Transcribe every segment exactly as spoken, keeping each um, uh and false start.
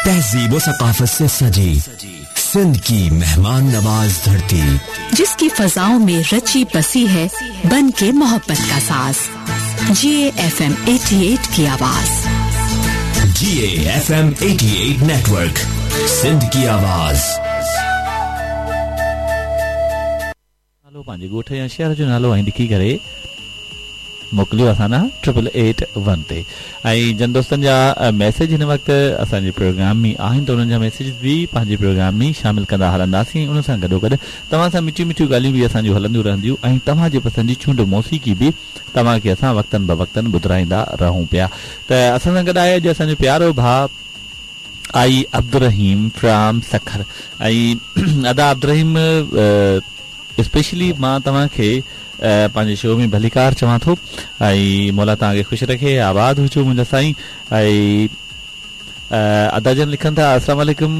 तहजीब व सकाफत से सजी सिंध की मेहमान नवाज धरती, जिसकी फजाओं में रची बसी है बन के मोहब्बत का साज। जी एफ एम अठासी की आवाज, जी एफ एम अठासी नेटवर्क, सिंध की आवाज। नालो पंहिंजे ॻोठ या शहर जो नालो ऐं लिखी करे मोकिलियो असां ॾांहुं ट्रिपल एट वन ते। ऐं जन दोस्तनि जा मैसेज हिन वक़्तु असांजे प्रोग्राम में आहिनि त उन्हनि जा मैसेज बि पंहिंजे प्रोग्राम में शामिल कंदा हलंदासीं। उन सां गॾोगॾु तव्हां सां मिठियूं मिठियूं ॻाल्हियूं बि असांजूं हलंदियूं रहंदियूं ऐं तव्हांजे पसंदि जी चूंड मौसीक़ी बि तव्हांखे असां वक़्तनि ब वक़्तनि ॿुधाईंदा रहूं पिया। त असां सां गॾु आहे अॼु असांजो प्यारो भाउ आई अब्दुल फ्राम सखर। ऐं अदा अब्दुल स्पेशली मां तव्हांखे पंहिंजे शो में भलीकार चवां थो ऐं मौला तव्हांखे ख़ुशि रखे, आबाद हुजो मुंहिंजा साईं। ऐं अदा जन लिखनि था अस्सलाम वालेकुम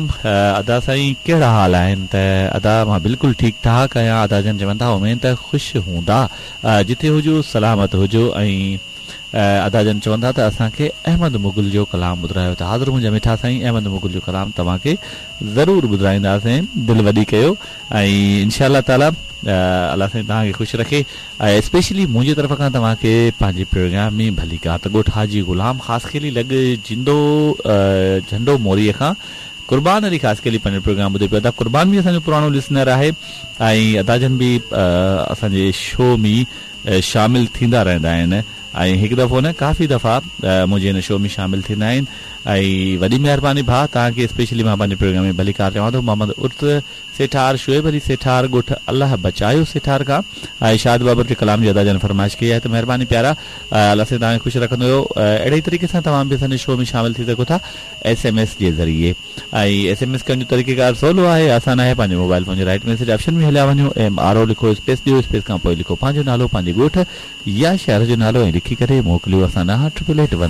अदा साईं, कहिड़ा हाल आहिनि? त अदा मां बिल्कुलु ठीकु ठाक आहियां। अदा जन चवनि था उमेद त ख़ुशि हूंदा, जिथे हुजो सलामत हुजो। ऐं अदा जन चवनि था त असांखे अहमद मुग़ल जो कलाम ॿुधायो। त हाज़िर मुंहिंजा मिठा साईं, अहमद मुग़ल जो कलाम तव्हांखे ज़रूरु ॿुधाईंदासीं, दिलि वॾी कयो ऐं इनशा ताला अलाह साईं तव्हांखे ख़ुशि रखे। ऐं स्पेशली मुंहिंजी तरफ़ खां तव्हांखे पंहिंजे प्रोग्राम में भलीकार। त ॻोठ हाजी ग़ुलाम ख़ासखेली लॻ जिंदो झंडो मोरीअ खां कुर्बान अली ख़ासखेली पंहिंजो प्रोग्राम ॿुधे पियो। अदा कुर्बान बि असांजो पुराणो लिसनर आहे ऐं अदा जन बि असांजे शो में शामिल थींदा रहंदा आहिनि ऐं हिकु दफ़ो न काफ़ी दफ़ा मुंहिंजे हिन शो में शामिल थींदा आहिनि। ऐं वॾी महिरबानी भाउ तव्हांखे स्पेशली मां पंहिंजे प्रोग्राम में भलीकार चवां थो। मोहम्मद उर्त सेठार, शुएब अली सेठार, ॻोठ अलाह बचायो सेठार खां ऐं शाद बाबर जे कलाम जी अदा जन फरमाइश कई आहे। त महिरबानी प्यारा, अलाह साईं तव्हांखे ख़ुशि रखंदो। अहिड़े ई तरीक़े सां तव्हां बि असांजे शो में शामिल थी सघो था एस एम एस जे ज़रिए। ऐं एस एम एस करण जो तरीक़ेकार सवलो आहे, आसान आहे। पंहिंजे मोबाइल फ़ोन जे राइट मैसेज ऑप्शन में हलिया वञो, एम आर ओ लिखो, स्पेस ॾियो, स्पेस खां पोइ लिखो पंहिंजो नालो, पंहिंजे ॻोठ या शहर जो नालो ऐं लिखी करे मोकिलियो असां ॾांहुं ट्रिपल एट वन।